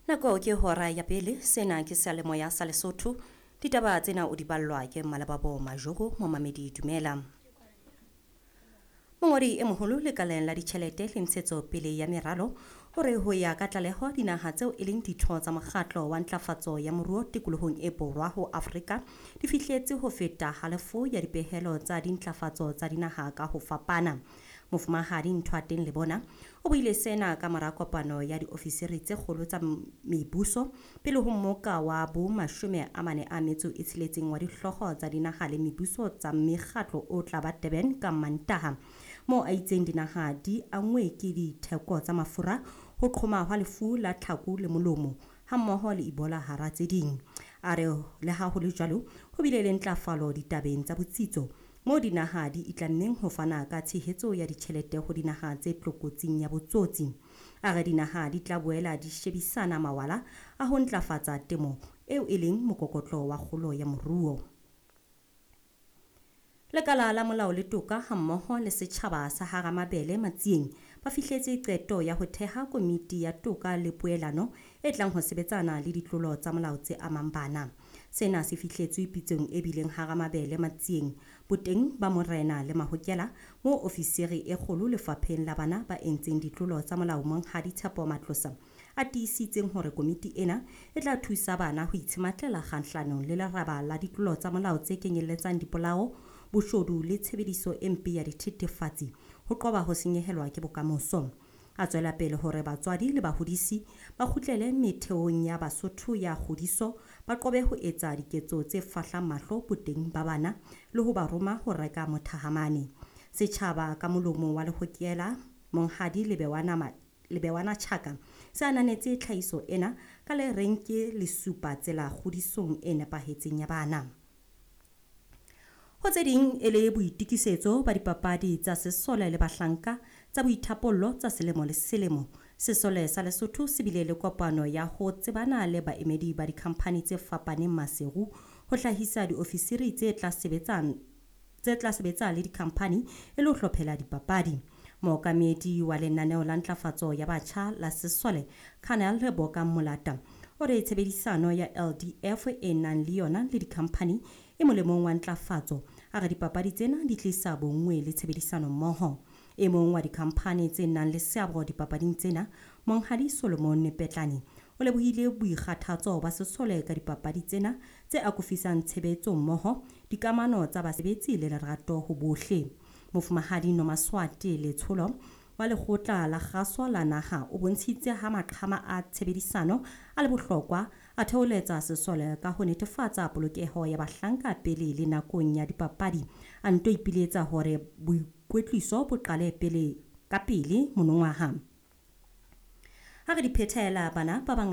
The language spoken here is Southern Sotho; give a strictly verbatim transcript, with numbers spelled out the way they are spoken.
Nako ke hora ya pele, sena ke seyalemoya sa Lesotho. Ditaba tsena o di ballwa ke Malebabo Majoro, momamedi dumela. Mongodi e moholo lekaleng la ditjhelete le ntshetsopele ya meralo o re ho ya ka tlaleho dinaha tseo e leng ditho tsa mokgatlo wa ntlafatso ya moruo tikolohong e borwa ho Afrika di fihletse ho feta halofo ya dipehelo tsa dintlafatso tsa dinaha ka ho fapana. Mofumahadi Nthoateng Lebona o buile sena ka mora kopano ya diofisiri tse kgolo tsa mebuso pele ho mmoka wa bo mashome a mane a metso e tsheletseng wa dihlooho tsa dinaha le mebuso tsa mekgatlo o tla ba Durban ka Mantaha, moo a itseng dinaha di anngwe ke ditheko tsa mafura, ho qhoma hwa lefu la tlhaku le molomo hammoho le Ebola hara tse ding. A re le ha ho le jwalo, ho bile le ntlafalo ditabeng tsa botsitso moo dinaha di itlammeng ho fana ka tshehetso ya ditjhelete ho dinaha tse tlokotsing ya botsotsi. A re dinaha di tla boela di shebisana mawala a ho ntlafatsa temo eo e leng mokokotlo wa kgolo ya moruo. Lekala la molao le toka hammoho le setjhaba sa Haramabele Matsieng ba fihletse qeto ya ho theha komiti ya toka le poelano e tlang ho sebetsana le ditlolo tsa molao tse amang bana. Sena se fihletswe pitsong e bileng Haramabele Matsieng boteng ba morena le mahokela moo ofisiri e kgolo lefapheng la bana ba entseng ditlolo tsa molao Monghadi Tshepo Matlosa a tiisitseng hore komiti ena e tla thusa bana ho itshematlela kgahlanong le leraba la ditlolo tsa molao tse kenyelletsang dipolao, boshodu le tshebediso e mpe ya dithethefatsi ho qoba ho senyehelwa ke bokamoso. A tswela pele hore batswadi le bahodisi ba kgutlele metheong ya Basotho ya kgodiso, ba qobe ho etsa diketso tse fahlang mahlo boteng ba bana le ho ba roma ho reka mothahamane. Setjhaba ka molomo wa lehokela Monghadi Lebewana Lebewana Chaka se ananetse tlhahiso ena ka le reng ke lesupa tsela kgodisong e nepahetseng ya bana. Ho tse ding e le boitokisetso ba dipapadi tsa sesole le bahlanka tsa boithapollo tsa selemo le selemo. Sesole sa Lesotho se bile le kopano ya ho tsebana le baemedi ba dikhamphani tse fapaneng Maseru ho hlahisa diofisiri tse tla sebetsang tse tla sebetsa le dikhamphani e le ho hlophela dipapadi. Mookamedi wa lenaneo la ntlafatso ya batjha la sesole Colonel Leboka Molata o re tshebedisano ya L D F e nang le yona le dikhamphani e molemong wa ntlafatso. A re dipapadi tsena di tlisa bonngwe le tshebedisano mmoho. E mong wa dikhamphani tse nang le seabo dipapading tsena, Monghadi Solomon Petlane, o lebohile boikgathatso ba sesole ka dipapadi tsena tse akofisang tshebetso mmoho, dikamano tsa basebetsi le lerato ho bohle. Mofumahadi Nomaswati Letsholo wa lekgotla la kgaso la naha o bontshitse ha maqhama a tshebedisano a le bohlokwa, a theoletsa sesole ka ho netefatsa polokeho ya bahlanka pele le nakong ya dipapadi. A nto ipiletsa hore boikwetliso bo qale pele ka pele monongwaha. Ha re di phethela bana ba bangata